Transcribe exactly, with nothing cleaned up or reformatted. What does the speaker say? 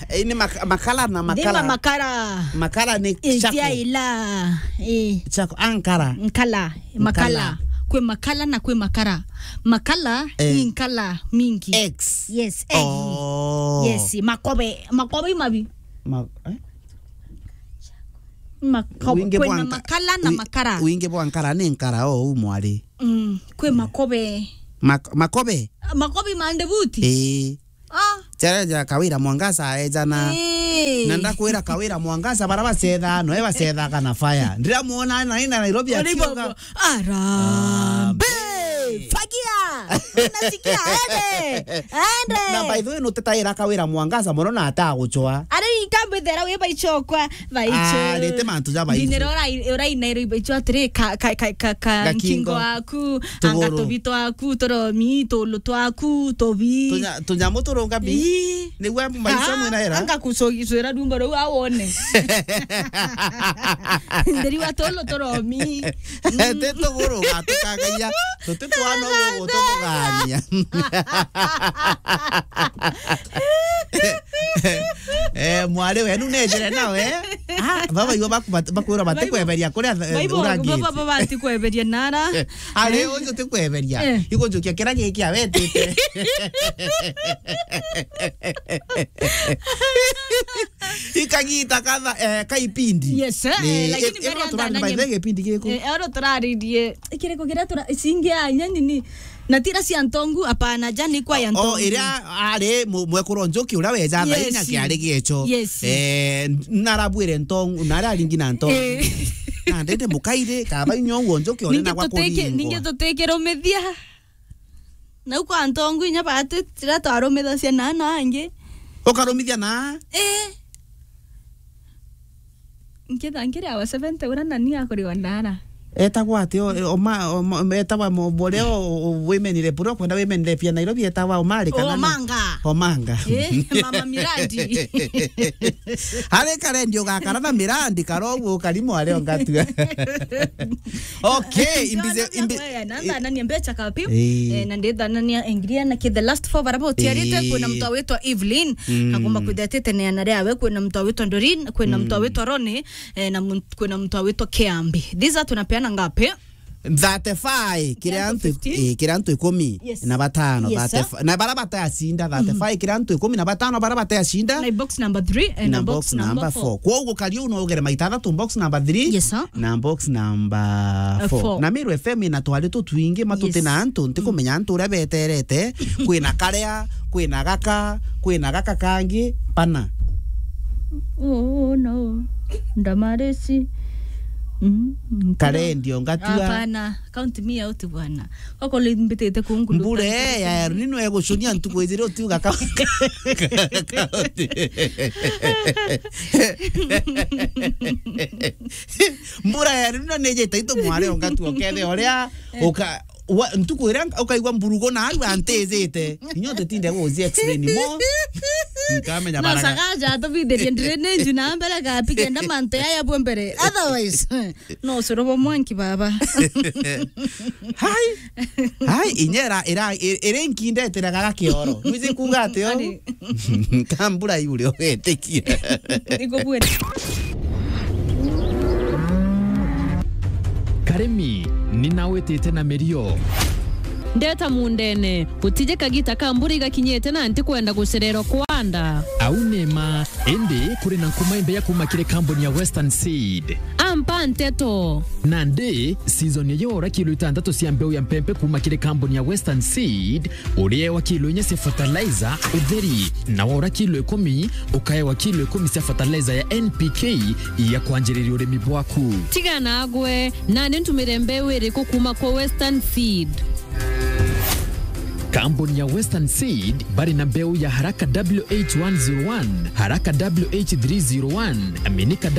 Eh, ni mak-, makala na makala. Makala. Makala ni chaku. Ila. Eh. Chaku, ah, nkara. Nkala. Makala. Makala. Kwi makala na kwi makara. Makala, eh, ni nkala mingi. X. Yes, egg. Oh. Yes, makobe. Makobe imabi. Ma-, eh? Makobe. Wingi bwa nka-, kwina makala na wi-, makara. Wingi bwa nkara ni nkara o u mwari. Mm, kwi makobe. Mak-, makobe? Makobe mande buti? Ii. Ah. Jaria ja Kawira Mwangaza ejana. Ii. Na ndakwira Kawira Mwangaza bara bacetha, no e bacethaga na fire. Ndiramuona na ina Nairobi akiuga, "Arambe! Arambe! Fagia! Unasikia? Ende! Ende!" Na by the way, nutetaira Kawira Mwangaza mono na atagucwa. Ari ikambe thera wi baichokwa. Baicho. Ah, rete mantu ja baicho. Ndinero urai, urai nairo ibaicho atiri ka, ka, ka, ka, ka Gakingo. Nkingo aku, anga tuguru. Tubi twaku, turomi, tulu twaku, tubi. Tunya-, tunyamu turunga bi. Ii. Nigwa maicho ah, mwina era. Anga kucogicwira dumbo ruu awone. Ndiri wa tulu turomi. Ti tuguru gatukagaia. Tuti twana uguo gutugugania. Eh, mwari wenu nejire nawe. Ah, baba iwe baku-, bat-, bakwirwa batikweberia kuria th-, urangite. Baba, baba batikweberia nara. Ari, eh, uyu tikweberia. Eh. Igunjukia kira giki awetite. Ikagita katha, eh, kaipindi. Yes, eh, eh, lakini eh, mbere ero turari-, by the way, gipindi giku? Eh, ero turaririe. Ikiriko kiria tura-, singi ya nyeni ni na tira cia ntongu, apana, ja ni kwa ya ntongu. O, iria ari mu-, mwekuru Njuki uria weja thaini, yes, akiari giecho. Yes. Eh, narabwire ntongu, na aria aringi na ntongu. Eh. Na ndende mukaire, kaba inyo uo Njuki one na gwa kuringwa. Ningi tutikirumithia. Nau kwa ntongu inya bati, tira twarumithacia na, na angi. Ukarumithia na? Eh. Nkitha nkiri awa seventy uria nani akuriwa ndara. Etagwa ati o, o ma, o ma, etagwa mo-, boria o, o, women rep, uria kwenda women rep ya Nairobi etagwa Omari kana na-, Omanga. Omanga. Eh, Mama Miradi. Ari karendi ugakara na Miradi, kara uguo ukari mwari ongatua. Okay, imbize, imbi-, nanthanania mbecha kapi. Eh. Eh, na ndithanania engria na ki the last four bara botiarite, eh, kwina mtu awitwa Evelyn. Mm. Agomba kwithia atiteneana riawe, kwina mtu awitwa Doreen, kwina mtu, mm, awitwa Ronnie, eh, na mun-, kwina mtu awitwa Kiambi. These are tunapeana ngapi? Thirty-five, kira antu, fifteen, eh, kira antu ikumi, yes, na batano, yes, sir, thirty-five, na bara batayacinda, thirty-five, mhm, kira antu ikumi na batano bara batayacinda. Na box number three, eh, na box number four. Kwoguo kari uu no ugere maita athatu, box number three, yes, sir, na box number four. Eh, four. Na Meru F M ina twari tutwingi, matuti, yes, na antu, ntikumenya antu uria beterete, kwina karia, kwina gaka, kwina gaka kangi, pana. Oh, no. Ndamarisi. Mm, mm, karendio ngatua. Hapana, count me out bwana. Koko limbitite kungu. Mbura ya El Nino egucunia ntuku ijiri utiuga ka-, mbura ya El Nino nijite itu mware ongatua ukethe uria, eh, uka-, wa-, ntuku iria ukaigua mburugu na aru antijite. Inyo tutinde guzi explain mo. Nkamenya no baraga. Sagaja atubithirie drainage na mbere gapi kenda mantu yaya bwe mbere. Otherwise, no ucuru bwa mwanki baba. Hai. Hai, inyera ira, i-, iri nkindeteraga gakioro. Mwizi kuga ati o? Ani? Kambura yule ugetikia. Nikubwira. Karimi, ni nawitite na mirio. Ndeta mundene, gutije kagita ka mbura igakinyite na ntikwenda gucererwa kwanda. Au ni ma, indi kuri na nkuma imbeya kuma kiri kambuni ya Western Seed. Ampa nteto. Nandi, season ya yora kilo itantatu cia mbeu ya mpempe kuma kiri kambuni ya Western Seed, uriewa kilo inya cia fertilizer utheri, na wora kilo ikumi, ukaewa kilo ikumi cia fertilizer ya N P K ya kwanjiriria urimi bwaku. Tiga nagwe, nani ntumire mbeu iriku kuma kwa Western Seed? Kambuni ya Western Seed bari na mbeu ya Haraka W H one zero one, Haraka W H three zero one, Aminika